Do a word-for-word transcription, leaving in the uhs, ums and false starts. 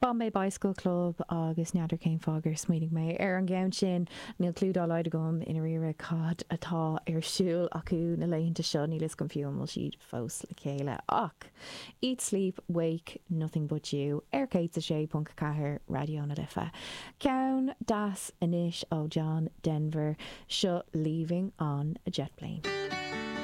Bombay Bicycle Club agus n'fheadar cén fáth gur smaoinigh mé ar an gceann sin níl clue dá laghad agam i ndáiríre cad atá ar siúl acu na laethanta seo níl a fhios agam fiú an bhfuil siad fós le chéile ach Eat Sleep Wake Nothing But You ar céad a sé ponc ceathair Raidió na Life. Ceann deas anois ó John Denver seo leaving on a jet plane.